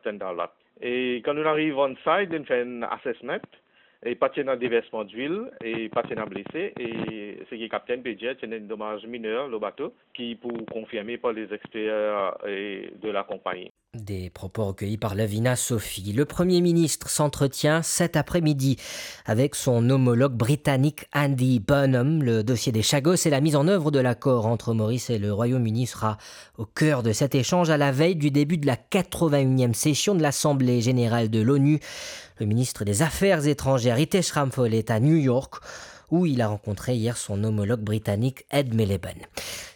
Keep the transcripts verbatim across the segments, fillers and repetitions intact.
Standard Lot. E kan nou ariv on site, nou fer enn assessment, e pa ti ena deversman dwil, e pa ti ena blese, e seki kaptenn pe dir, ti ena enn domaz miner lor bato, ki pou konfirme par lezexper, e, de la konpagni. Des propos recueillis par Lovina Sophie. Le Premier ministre s'entretient cet après-midi avec son homologue britannique Andy Burnham. Le dossier des Chagos et la mise en œuvre de l'accord entre Maurice et le Royaume-Uni sera au cœur de cet échange à la veille du début de la quatre-vingt-unième session de l'Assemblée générale de l'ONU. Le ministre des Affaires étrangères, Ritesh Ramphal, est à New York, où il a rencontré hier son homologue britannique Ed Miliband.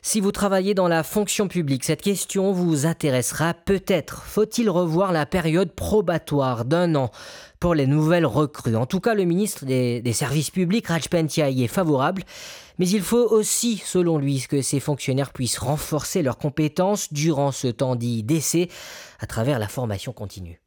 Si vous travaillez dans la fonction publique, cette question vous intéressera peut-être. Faut-il revoir la période probatoire d'un an pour les nouvelles recrues ? En tout cas, le ministre des, des services publics, Raj Pentia, y est favorable, mais il faut aussi, selon lui, que ces fonctionnaires puissent renforcer leurs compétences durant ce temps dit d'essai à travers la formation continue.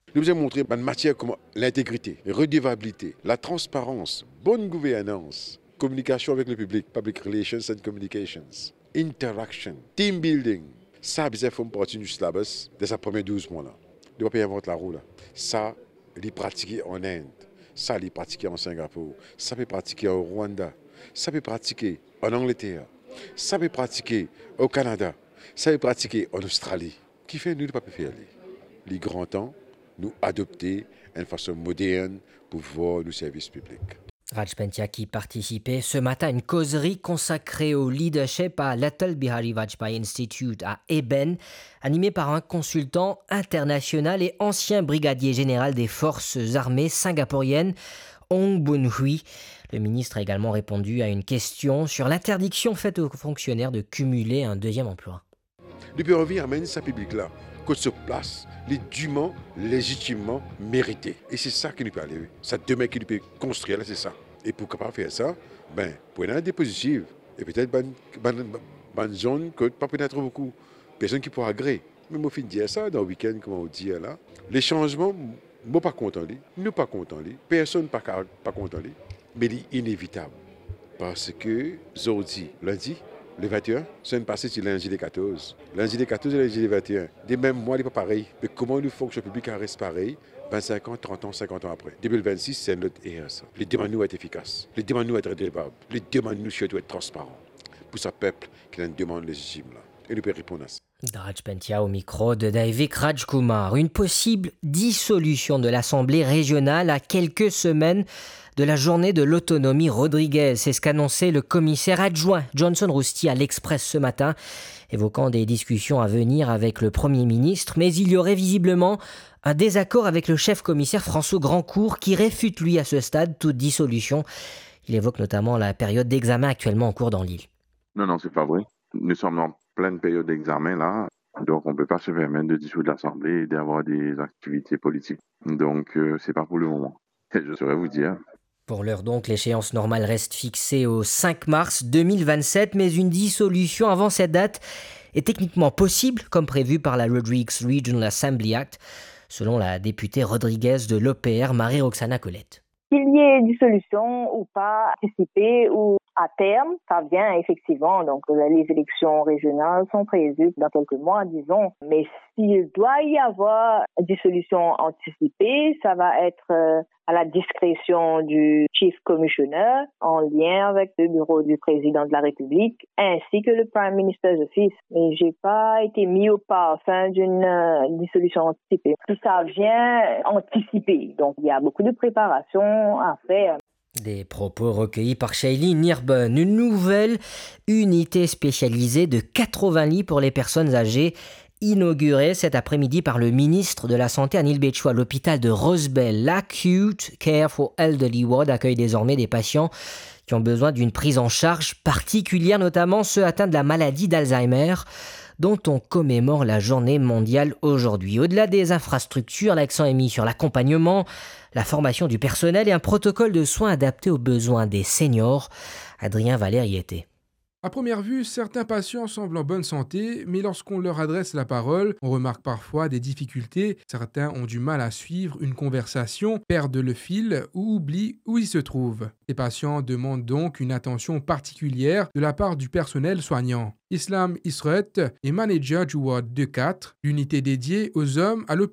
Nou bizin montre bann matier kouma lintegrite, redevabilite, latransparans, bonn gouvernans, kominikasion avek lepiblik, public relations and communications, interaction, team building. Sa bizin form parti nou syllabus dan sa premie douz mwa la. Nou pa pe invant larou la. Sa, li pratike an Inde, sa, li pratike an Singapour, sa pe pratike an Rwanda, sa pe pratike an Angleter, sa pe pratike o Kanada, sa pe pratike an Ostrali. Kifer nou, nou pa pe fer li? Li gran tan nou adopte enn fason modern pou vwar nou servis piblik. Raj Pentia qui participait ce matin à une causerie consacrée au leadership à l'Atal Bihari Vajpayee Institute à Eben, animée par un consultant international et ancien brigadier général des forces armées singapouriennes, Ong Bun Hui. Le ministre a également répondu à une question sur l'interdiction faite aux fonctionnaires de cumuler un deuxième emploi. Li pe anvi amenn sa piblik la kot so plas, li diman, lezitimman merite. E se sa ki nou pe ale, sa demin ki nou pe konstrir la, se sa. E pou kapav fer sa, be, pou ena de pozitif, e petet bann, bann, bann zonn kot pa pou ena tro boukou personn ki pou agre. Me mo finn dir sa dan wikenn, kouma ou dir la, le sanzman, mo pa kontan li, nou pa kontan li, personn pa ka, pa kontan li, me li inevitab. Parski zordi, lindi, le vingt et un, semenn pase ti lindi le quatorze. Lindi le quatorze e lindi le vingt et un. De mem mwa, li pa parey. Me kouma nou fonksyon piblik a res parey, vennsenk an, trant an, sinkant an apre? De mil vennsis, se enn lot er sa. Li demann nou et efikas. Li demann nou et redevab. Li demann nou sirtou et transparan. Pou sa pep ki ena enn demann lezitim la. E nou pe reponn a sa. Raj Pentia au micro de Daivik Rajkumar. Une possible dissolution de l'Assemblée régionale à quelques semaines de la journée de l'autonomie Rodriguez. C'est ce qu'annonçait le commissaire adjoint Johnson Rousty à l'Express ce matin, évoquant des discussions à venir avec le Premier ministre. Mais il y aurait visiblement un désaccord avec le chef commissaire François Grandcourt, qui réfute, lui, à ce stade, toute dissolution. Il évoque notamment la période d'examen actuellement en cours dans l'île. Non, non, c'est pas vrai. Nous sommes en pleine période d'examen, là. Donc, on peut pas se permettre de dissoudre l'Assemblée et d'avoir des activités politiques. Donc, euh, c'est pas pour le moment. Je saurais vous dire. Pour l'heure donc, l'échéance normale reste fixée au cinq mars deux mille vingt-sept, mais une dissolution avant cette date est techniquement possible, comme prévu par la Rodrigues Regional Assembly Act, selon la députée Rodriguez de l'O P R, Marie-Roxana Collette. Qu'il y ait dissolution ou pas, anticipée ou à terme, ça vient effectivement, donc, euh, les élections régionales sont prévues dans quelques mois, disons. Mais s'il doit y avoir dissolution anticipée, ça va être, euh, à la discrétion du Chief Commissioner, en lien avec le bureau du président de la République, ainsi que le Prime Minister's Office. Et j'ai pas été mis au parfum d'une, euh, dissolution anticipée. Tout ça vient anticipé. Donc, il y a beaucoup de préparation à faire. Des propos recueillis par Shaylee Nirben. Une nouvelle unité spécialisée de quatre-vingts lits pour les personnes âgées, inaugurée cet après-midi par le ministre de la Santé, Anil Bechu, à l'hôpital de Rosebel. L'Acute Care for Elderly Ward accueille désormais des patients qui ont besoin d'une prise en charge particulière, notamment ceux atteints de la maladie d'Alzheimer, dont on commémore la journée mondiale aujourd'hui. Au-delà des infrastructures, l'accent est mis sur l'accompagnement, la formation du personnel et un protocole de soins adapté aux besoins des seniors. Adrien Valère y était. À première vue, certains patients semblent en bonne santé, mais lorsqu'on leur adresse la parole, on remarque parfois des difficultés. Certains ont du mal à suivre une conversation, perdent le fil ou oublient où ils se trouvent. Les patients demandent donc une attention particulière de la part du personnel soignant. Islam Isret est manager du ward deux quatre, l'unité dédiée aux hommes à l'hôpital